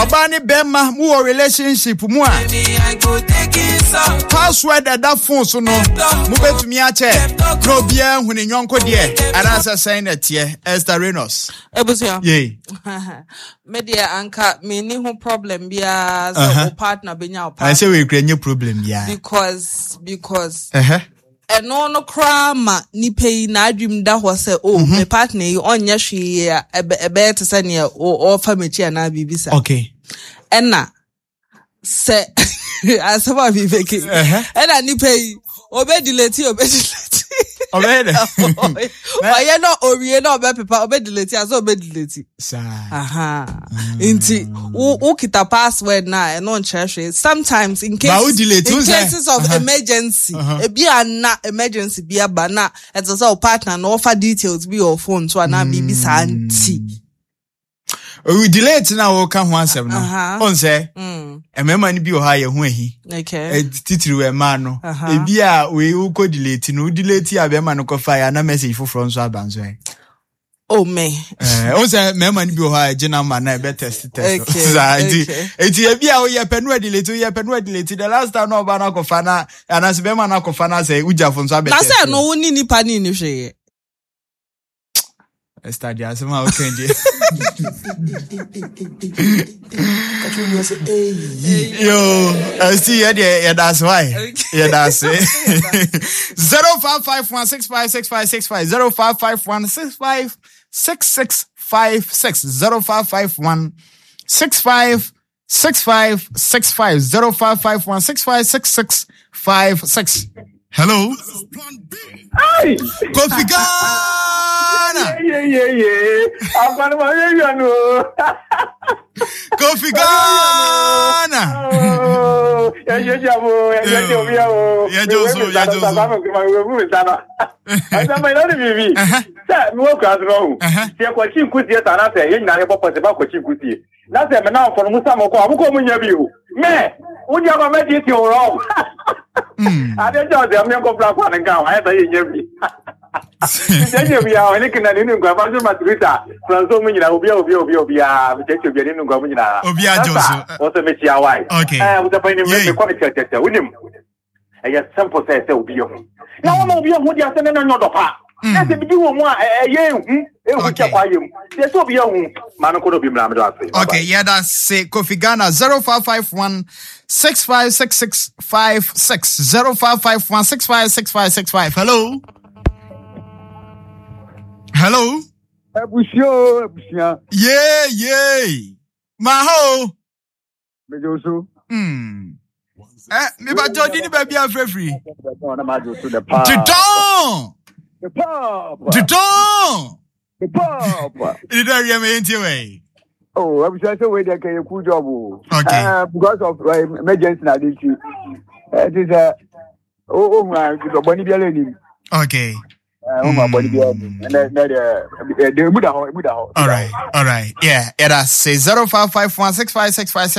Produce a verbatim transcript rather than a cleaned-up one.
Ɔbaa ne bɛrima mu wɔ relationship mu a, password ɛda phone so no, mobɛtumi akyɛ na obiara hu ne nyɔnko deɛ, anaasɛ sɛn na ɛteɛ? Esther Renos. Ebusua. Yei. Me deɛ, anka menni ho problem biara sɛ wo partner bɛnya wo ɛsɛ password. Wei kura nye problem biara. because because ɛhɛ ɛno no koraa ma nipa yi n'adwim da hɔ sɛ, o, me partner yi ɔnyɛ hwee a ɛbɛ ɛbɛyɛ te sɛ nea ɔ- ɔrefa m'akyi anaa biribi saa. Okay ɛna sɛ asɛm a bibɛke, Ɛhɛ. ɛna nipa yi obɛdelete obɛdelete Ɔbɛyɛ dɛ. Ɔyɛ na owie na ɔbɛpepa, ɔbɛdelete asɛ ɔbɛdelete. Saa. Aha. Nti wo wo kita password na ɛno nkyerɛ hwee. Sometimes in Ba wo cases delete, in wo sɛ- cases of Uh-huh. emergency, Uh-huh. ebi ana emergency bi aba na ɛte sɛ wo partner na ɔfa details bi wɔ phone so anaa biribi saa nti. Owu delete na wɔka ho asɛm no, Aha. ɔn sɛ Mm, mmarima no bi wɔ hɔ a yɛ ho ahi. okay. Eh, titiriw mmaa no. Aha. Ebi a wei wokɔ delete no, wo delete a bɛrima no kɔfa yɛ ana message foforɔ nso aba nso ɛ. Oh me. Eh, ɔn sɛ mmarima no bi wɔ hɔ a ɛgye number na ɛbɛ test test. Okay, saa nti okay. eti ebi a woyɛ pɛ no delete, woyɛ pɛ no delete, the last time na ɔba no akɔfa na anaasɛ bɛrima no akɔfa na sɛ wogyafo nso abɛ Na test. sɛ no wo ne nipa ne ni hwee. Esther deɛ, asɛm a woka deɛ. Kakyɛ onua sɛ, "Ei." Yo, ɛsi yɛ deɛ, yɛda ase wae, yɛda ase. Zero five five one six five six five six five, zero five five one six five six six five six, zero five five one six five six five six five, zero five five one six five six six five six. Hello, Kofi Ghana. Yeah, yeah, yeah. Akwana ma ye ya no. Kofi Ghana. Oh, ya ye ya mo, ya ye obi ya o. Yeah, Josu, yeah, Josu. Ma we mu sa no. Asa ma na bibi. Sa mi wo kra no. Uh-huh. Se ko chi nkusie ta na se ye nyina ye popo se ba ko chi nkusie. Na se me na ofo no musa mo ko, abuko mu nya bi o. Me, wo dia ma me di ti o ro. Ade jo de me ko bra kwa nka wa ya ye nya bi. Jẹjẹ bi a ɔne kena ne nukua fa so matrita franso mu nyinaa, obi a obi a obi a obi a mekyerɛkyerɛ obi a ne nukua mu nyinaa. Obi a gye wo so. Wɔsɛ mekyia wae. Okay. Ɛɛ wosɛ ne Yay. mekɔ mekyerɛkyerɛ wonim ɛyɛ simple sɛ sɛ obi yɛ ho na wɔma obi yɛ ho deɛ sɛ ne no nyɛ ɔdɔ pa na sɛ bibi wɔ mu a ɛ- ɛyɛ ehu ehu. Okay. Kyɛ kɔ ayɛ mu deɛ sɛ obi yɛ ho maa no kɔ na obi mmra mede ase. Okay, yeah, that's it. Kofi Ghana, zero five five one six five six six five six, zero five five one six five six five six five. Hello. Hello. Abusua o, abusua. Yeah, yeah. Maho. Megye wo so. Hmm. Eh, me ba jodi ni baby afrefri. Na magye wo so the paa. Dudon. The pop. Dudon. The pop. It don't hear me anyway. Oh, abusua, sɛ wei deɛ kɛyɛ cool job o. Okay. Uh, because of uh, emergency na ade nti. Ɛti sɛ o o hu a bɔnne biara anim. Okay. O hu a bɔnne biara anim. Ɛnɛ ɛnɛ deɛ ɛde emu da hɔ, emu da hɔ. All right. All right. Yeah. Yeah, that's say zero five five one six five six five six.